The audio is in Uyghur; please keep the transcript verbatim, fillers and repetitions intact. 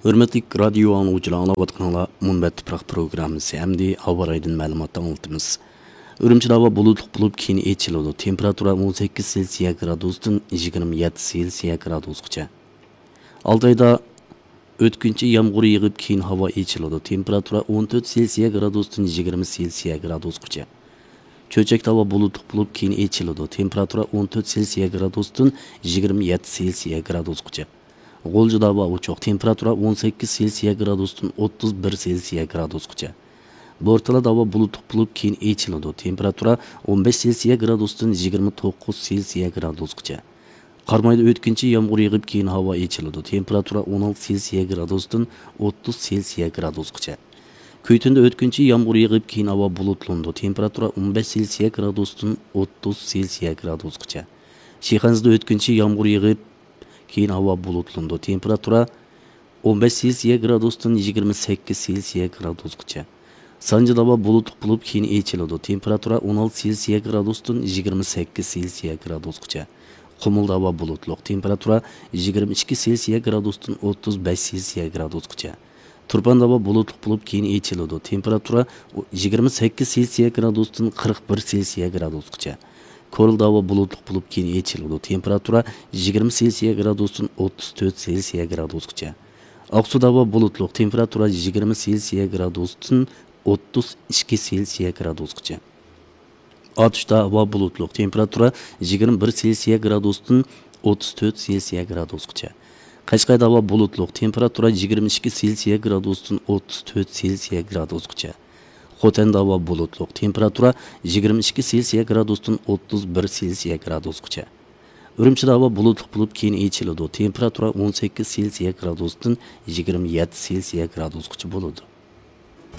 ھۆرمەتلىك رادىيو ئاڭلىغۇچىلار، ئاڭلاۋاتقىنىڭلار مۇنبەت تۇپراق پروگراممىسى. ئەمدى ھاۋا رايىدىن مەلۇماتنى ئاڭلىتىمىز. ئۈرۈمچىدە ھاۋا بۇلۇتلۇق بولۇپ، كېيىن ئېچىلىدۇ. تېمپېراتۇرا ئون سەككىز سېلسىيە گرادۇستىن يىگىرمە يەتتە سېلسىيە گرادۇسقىچە. ئالتايدا ئۆتكۈنچى يامغۇر يېغىپ، كېيىن ھاۋا ئېچىلىدۇ. تېمپېراتۇرا ئون تۆت سېلسىيە گرادۇستىن يىگىرمە سېلسىيە گرادۇسقىچە. چۆچەكتە ھاۋا بۇلۇتلۇق بولۇپ، كېيىن ئېچىلىدۇ. تېمپېراتۇرا ئون تۆت سېلسىيە گرادۇستىن يىگىرمە يەتتە سېلسىيە گرادۇسقىچە. غۇلجىدا ھاۋا ئوچۇق. تېمپېراتۇرا ئون سەككىز سېلسىيە گرادۇستىن ئوتتۇز بىر سېلسىيە گرادۇسقىچە. بورتالادا ھاۋا بۇلۇتلۇق بولۇپ، كېيىن ئېچىلىدۇ. تېمپېراتۇرا ئون بەش سېلسىيە گرادۇستىن يىگىرمە توققۇز سېلسىيە گرادۇسقىچە. قارامايدا ئۆتكۈنچى يامغۇر يېغىپ، كېيىن ھاۋا ئېچىلىدۇ. تېمپېراتۇرا ئون ئالتە سېلسىيە گرادۇستىن ئوتتۇز سېلسىيە گرادۇسقىچە. كۈيتۈندە ئۆتكۈنچى يامغۇر يېغىپ، كېيىن ھاۋا بۇلۇتلىنىدۇ. تېمپېراتۇرا ئون بەش سېلسىيە گرادۇستىن ئوتتۇز سېلسىيە گرادۇسقىچە. شىخەنزىدە ئۆتكۈنچى يامغۇر يېغىپ، كېيىن ھاۋا بۇلۇتلىنىدۇ. تېمپېراتۇرا ئون بەش سېلسىيە گرادۇستىن يىگىرمە سەككىز سېلسىيە گرادۇسقىچە. سانجىدا ھاۋا بۇلۇتلۇق بولۇپ، كېيىن ئېچىلىدۇ. تېمپېراتۇرا ئون ئالتە سېلسىيە گرادۇستىن يىگىرمە سەككىز سېلسىيە گرادۇسقىچە. قۇمۇلدا ھاۋا بۇلۇتلۇق. تېمپېراتۇرا يىگىرمە ئىككى سېلسىيە گرادۇستىن ئوتتۇز بەش سېلسىيە گرادۇسقىچە. تۇرپاندا ھاۋا بۇلۇتلۇق بولۇپ، كېيىن ئېچىلىدۇ. تېمپېراتۇرا يىگىرمە سەككىز سېلسىيە گرادۇستىن قىرىق بىر سېلسىيە گرادۇسقىچە. كورلىدا ھاۋا بۇلۇتلۇق بولۇپ، كېيىن ئېچىلىدۇ. تېمپېراتۇرا يىگىرمە سېلسىيە گرادۇستىن ئوتتۇز تۆت سېلسىيە گرادۇسقىچە. ئاقسۇدا ھاۋا بۇلۇتلۇق. تېمپېراتۇرا يىگىرمە سېلسىيە گرادۇستىن ئوتتۇز ئىككى سېلسىيە گرادۇسقىچە. ئاتۇشتا ھاۋا بۇلۇتلۇق. تېمپېراتۇرا يىگىرمە بىر سېلسىيە گرادۇستىن ئوتتۇز تۆت سېلسىيە گرادۇسقىچە. قەشقەردە ھاۋا بۇلۇتلۇق. تېمپېراتۇرا يىگىرمە ئىككى سېلسىيە گرادۇستىن ئوتتۇز تۆت سېلسىيە گرادۇسقىچە. خوتەندە ھاۋا بۇلۇتلۇق. تېمپېراتۇرا يىگىرمە ئىككى سېلسىيە گرادۇستىن ئوتتۇز بىر سېلسىيە گرادۇسقىچە. ئۈرۈمچىدە ھاۋا بۇلۇتلۇق بولۇپ، كېيىن ئېچىلىدۇ. تېمپېراتۇرا ئون سەككىز سېلسىيە گرادۇستىن يىگىرمە يەتتە سېلسىيە گرادۇسقىچە بولىدۇ.